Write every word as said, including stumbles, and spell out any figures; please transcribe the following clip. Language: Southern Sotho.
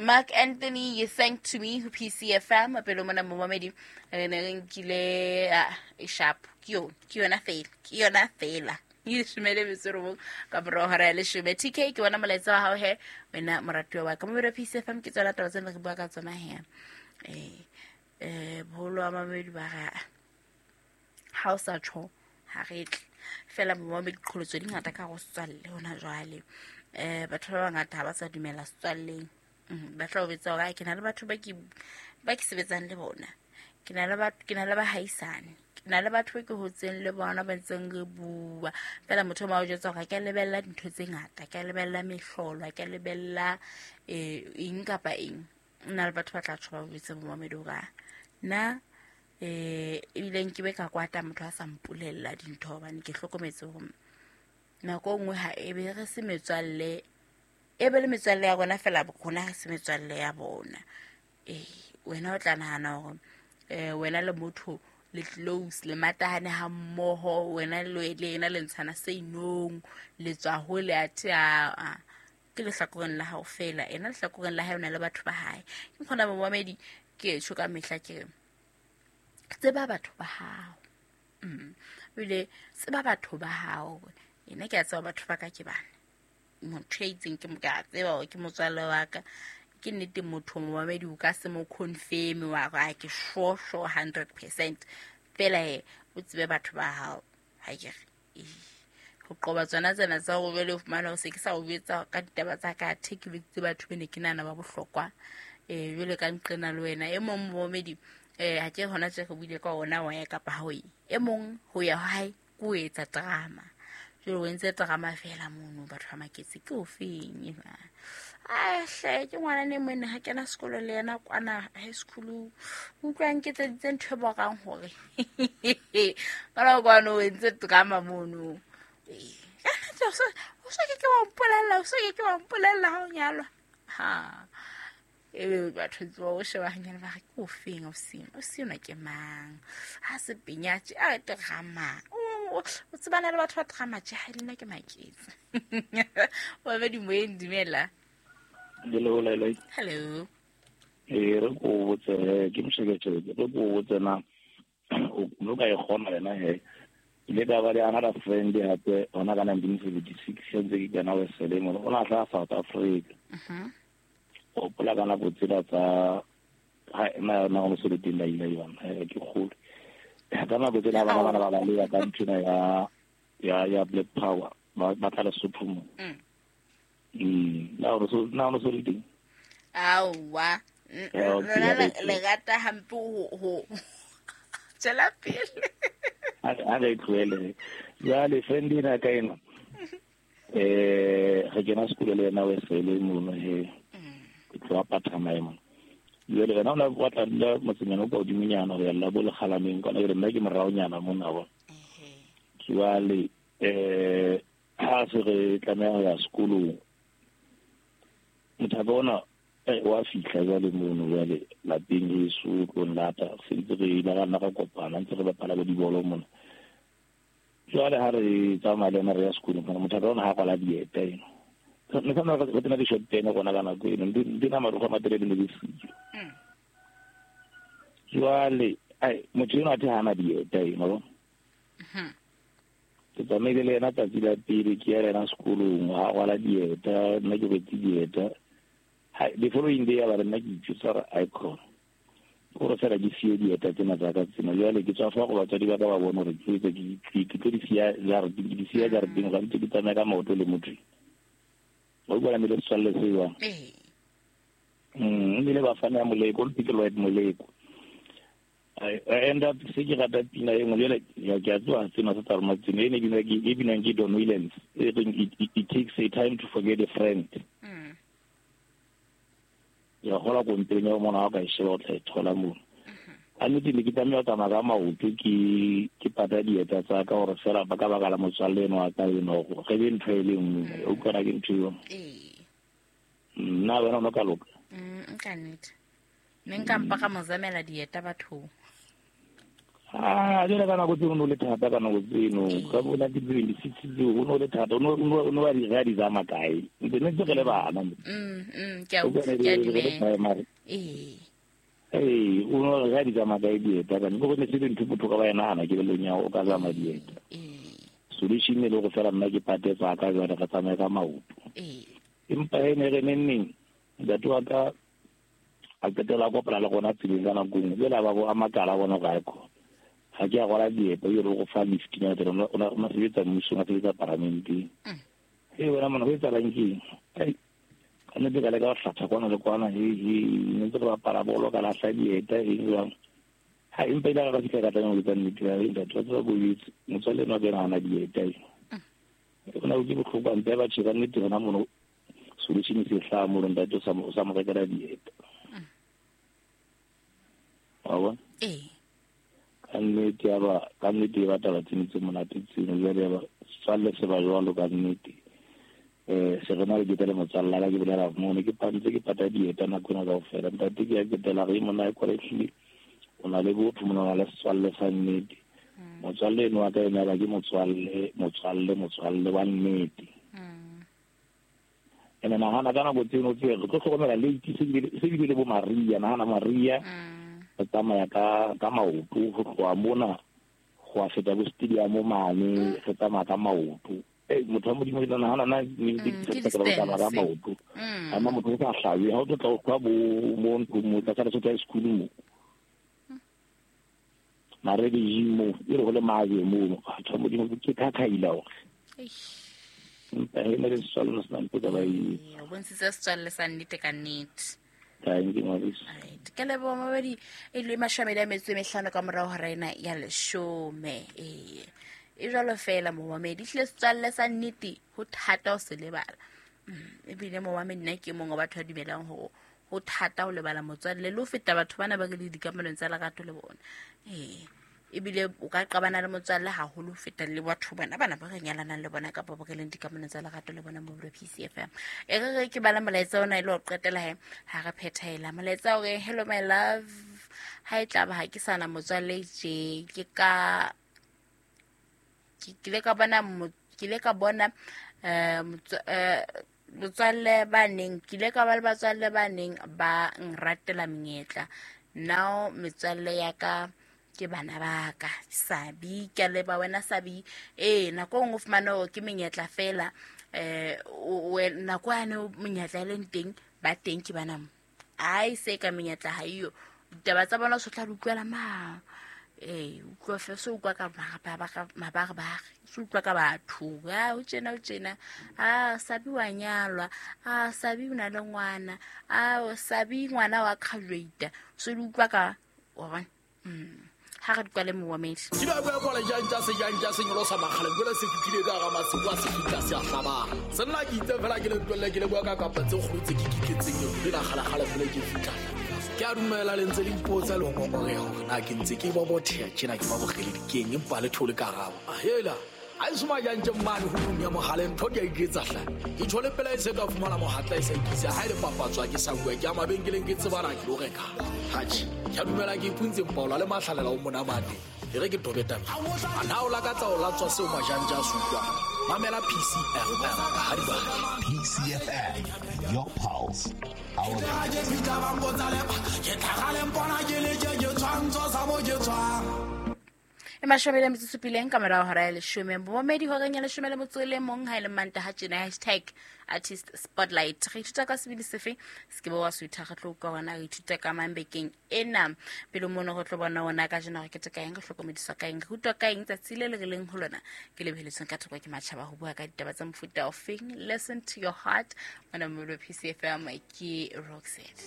Mark Anthony, you sang to me ho P C F M. Pele mona momamedi re ne re nkile e sharp. Ke yona, ke yona fela, ke yona fela. Leshome le metso e robong ka morao hora ya leshome. T K ke bona molaetsa wa hao he wena moratuwa wa ka. Momamedi wa P C F M ke tswela taba tsena re bua ka tsona he. Eh eh boholo wa mamedi ba ra ha o sa tjho ha re tle. Fela momamedi diqholotso di ngata ka go setswalle hona jwale. Eh batho ba bangata ha ba sa dumela setswalleng. Ba tla o betsa hore ke na le batho ba ke ba ke sebetsang le bona. Ke na le batho, ke na le bahaisane. Ke na le batho ke hotseng le bona ba ntseng re bua. Fela motho ma o jwetsa hore ke a lebella dintho tse ngata, ke a lebella mehlolo, ke a lebella eh eng kapa eng. Nna le batho ba tla tjho ba botse momamedi hore nna eh ebile nke be ka kwata motho a sa mpolella dintho hobane ke hlokometse hore nako nngwe ha e be re se metswalle, e be le metswalle ya rona fela rona re se metswalle ya bona. Eh wena o tla nahana hore eh wena le motho le close le matahane ha mmoho, wena le le yena le ntshana seinong, le tswa hole athe a ke lehlakoreng la hao fela, ena lehlakoreng la hae o na le batho ba hae. Ke kgona momamedi ke tjho ka mehla ke tseba batho ba hao. Mm. Ebile tseba batho ba hao. Ena ke a tseba batho ba ka ke bana. Motho ya itseng ke mo ke a tseba hore ke motswalle wa ka. Ke nnete motho momamedi o ka se mo confirm wa re ke sure sure hundred percent. Fela he o tsebe batho ba hao. Ha ke re ho qoba tsona tsena tsa ho jwale o fumana o se ke sa o jwetsa ka ditaba tsa ka athe ke bitsitse batho be ne ke nahana ba bohlokwa. Eh jwale ka nqena le wena e mong momamedi eh ha ke hona tje re buile ka ona wa ya kapa ha o ye. E mong ho ya hae ke o etsa drama. Jwale o entse drama fela mono batho ba maketse ke o feng ena. Ah hle ke ngwana ne mone ha kena sekolo le yena kwana high school. Utlwang ke tseditse ntho e borang hore. Ka la kwana o entse drama mono. O so ke ke wa mpolella, o so ke ke wa mpolella ha o nyalwa. Ha. Ebe batho tsoa o sheba hanyane ba re ke o feng o seng o sena ke mang ha se penyatse a drama o tsebana le batho ba drama tje ha lena ke maketse wa be di moyeng dumela. Hello Lele. Hello. Eh re go botse ke mosheketse re go botse na o no ka e gona lena he ile ka ba le another friend hape ona ka nineteen seventy-six ntse ke kana we selemo o na tla South Africa. Mhm. O pola ka nako tsela tsa ha na na go se le teng la ile yona ke kgolo ka nako tsela ba bana ba ba le ka nthina ya ya ya Black Power ba ba tla Lesotho mo. Mm na o so na o so le teng awa lona le rata hampe ho ho tsela pele a re tlohele jwale friend ena ka ena eh re kena sekolo le yena we sele mono he ke tloha Patamaema jwale yena o na batla dula motsenyana o ka hodimonyana ho ya la bo lekgalameng kwana ke re nna ke moraonyana mona bona. Jwale eh ha se re tlameha ho ya sekolong motho ona wa fihla jwale mono jwale lapeng heso tlo nlata se ntse re ile ra nna ra kopana ntse re bapala bo dibolo mona. Jwale ha re tsamaya le yena re ya sekolong motho ona ha kwala dieta eno ne ka nna re tsena di-short tene rona ka nako eno di na marokgwe a matelele ne di siyo. Jwale ai motho eno athe hana dieta eno. Ke tsamaile le yena tsatsi la pele ke ya le yena sekolong ha rwala dieta nna ke rwetse dieta. The following day ba re nna ke itjwetsa hore icon gore fela ke siye dieta tsena tsa ka tsena jwale ke tswa fa go batswadi ba ka ba bone hore ke etse ke tlo di siya jareteng ke di siya jareteng ga ntse ke tsamaya ka maoto le motho o utlwa le setswalle se jwang. Mm ebile ba fana ya Moleko le ke Lloyd Moleko. I end up se ke rata pina e nngwe jwale ke a tseba tsena tsa rona tsena e ne binwa ke e binwang ke Don Williams e reng it takes a time to forget a friend. Mm. Ya gola kompeng ya mona ha ka e sheba o tla e thola mono. A nnete ne ke tlameha ho tsamaya ka maoto ke ke pata dieta tsa ka hore fela ba ka baka la motswalle eno wa ka eno hore re be ntho e le nngwe o utlwana ke ntho eo. Nna wena o no ka loka. Mm ka nnete. Ne nka mpa ka mo zamela dieta bathong. Ah, jwale ka nako tseno o le thata ka nako tseno ka bo nineteen seventy-six tseo o no le thata o no no ba di ga di zama kae ntse ne tse le bana mm mm ke a ke a dumela eh eh o no ga di zama kae dieta ka go ne se dintho botho ka ba ena ana ke le nya o ka zama dieta eh solution ne le go fela nna ke pate tsa ka jwale ka tsamaya ka maoto eh empa ene re neng ntate wa ka a qetela kopana le gona tseleng ka nako nngwe jwale ba bo a makala bona ga ko ha ke a gola dieto yo go fa lift nya tere o na o sebetsa mmusong a sebetsa parlamenteng e wena mona ho etsahalang keng ai ka nnete ka leka ho hlatha kwana le kwana he he ne ntse re bapala bolo ka lahla dieta eng jwang ha empa ile ka fihla ka tlameha ho etsa nnete ya ntate wa tseba ko etse motswalle enwa ke ena hana dieta e ona o ke bohloko mpe ba tjhe ka nnete hona mono solution se hlaha mono ntate o sa o sa mo rekela dieta wa bona ee ka nnete ya ba ka nnete ba taba tseno tse monate tseno jwale ya ba setswalle se ba jwalo ka nnete um se re na le ketele motswalle la ke bolela mono ke pantse ke pata dieta nako ena kaofela ntate ke ya ketela re mona e kwale ehlile o na le botho mona o na le setswalle sa nnete motswalle eno wa ka ena ba ke motswalle motswalle motswalle wa nnete ene nahana ka nako tseno tse re tlo hlokomela late se bile le bo Maria nahana Maria re tsamaya ka ka maoto go tloha mona go a feta bo stadium mane re tsamaya ka maoto eh motho wa modimo ke nahana na ne ke tsamaya ka maoto ama motho o sa hlabe ha o tlo tla o kwa bo mo ntlong mo tla tsa tsa school mo mare di mo e re go le maje mo batho wa modimo ke khakhaila hore empa he ne re setswalle se na ntho ka ba e o bontshitse setswalle sa nnete ka nnete. Thank you, Maurice. Right. Ke leboha mabedi e le mashome a metso e mehlano ka morao hora ena ya leshome. Eh. E jwalo fela momamedi hlile setswalle sa nnete ho thata ho se lebala. Ebile momamedi nna ke mongwe wa batho ba dumelang hore ho thata ho lebala motswalle le ho feta batho bana ba re le dikamanong tsa lerato le bona. Eh. Ebile o ka qabana le motswalle haholo ho feta le batho bana bana ba re nyalanang le bona kapa ba re leng dikamanong tsa lerato le bona mo P C F M. E re re ke bala molaetsa ona e le ho qetela he ha re phethela molaetsa o re hello my love ha e tla ba ha ke sana motswalle je ke ka ke ile ka bona ke ile ka bona eh motswalle ba neng ke ile ka ba le batswalle ba neng ba nratela menyetla now metswalle ya ka ke bana ba ka Sabi ke leba wena Sabi eh nako nngwe fumana hore ke menyetla fela eh nako yane menyetla e leng teng ba teng ke bana ai se ka menyetla ha iyo ditaba tsa bona so tla di utlwela ma eh utlwa fe so utlwa ka mabarebare so utlwa ka batho a o tjena o tjena a Sabi wa nyalwa a Sabi o na le ngwana a Sabi ngwana wa graduate so di utlwa ka wa bona mm ha re kwale moamedi ke ba bua kwale jang tsa se jang tsa senyolo sa makgale jwale se fitlhile ka ga masimo a se fitla se a hlabana se nna ke itse fela ke le tlwelle ke le bua ka kapa tse kgolo tse ke kitletseng le la kgalakgala fela ke fitla ke a dumela le ntse le ipotsa le ho ngongoreha hore na ke ntse ke bobotheha tjena ke ba bogele dikeng empa le thole karabo hela a e soma jang tje mmane ho nong ya mogale ntho di a iketsa hle ke tshole pela e se ka fumana mohatla e sa ikisa ha e le papatswa ke sa bua ke a mabenkeleng ke tsebana ke lo reka hatjhe ke a dumela ke ipuntse mpaola le mahlalela o monamate e re ke tobeta a na o lakatsa o latswa seo majanja a se utlwang mamela P C F M ha di ba P C F M your pulse our ke tlhagaleng bona ke le ke tshwantsho sa mo ke tswang e mashome le metsotso supileng ka morao hora ya leshome momedi horeng ya leshome le motso le mong ha e le Mantaha tjena hashtag artist spotlight re ithuta ka sebini sefe se ke bo wa suitha re tlo utlwa hona re ithuta ka mang bekeng ena pele mono re tlo bona ona ka jena re keteka eng re hlokomediswa ka eng re utlwa ka eng tsatsi le le re leng ho lona ke lebeletsweng ka thoko ke matjhaba ho bua ka ditaba tsa mofuta ofeng. Listen to your heart mona mo P C F M ke Roxette.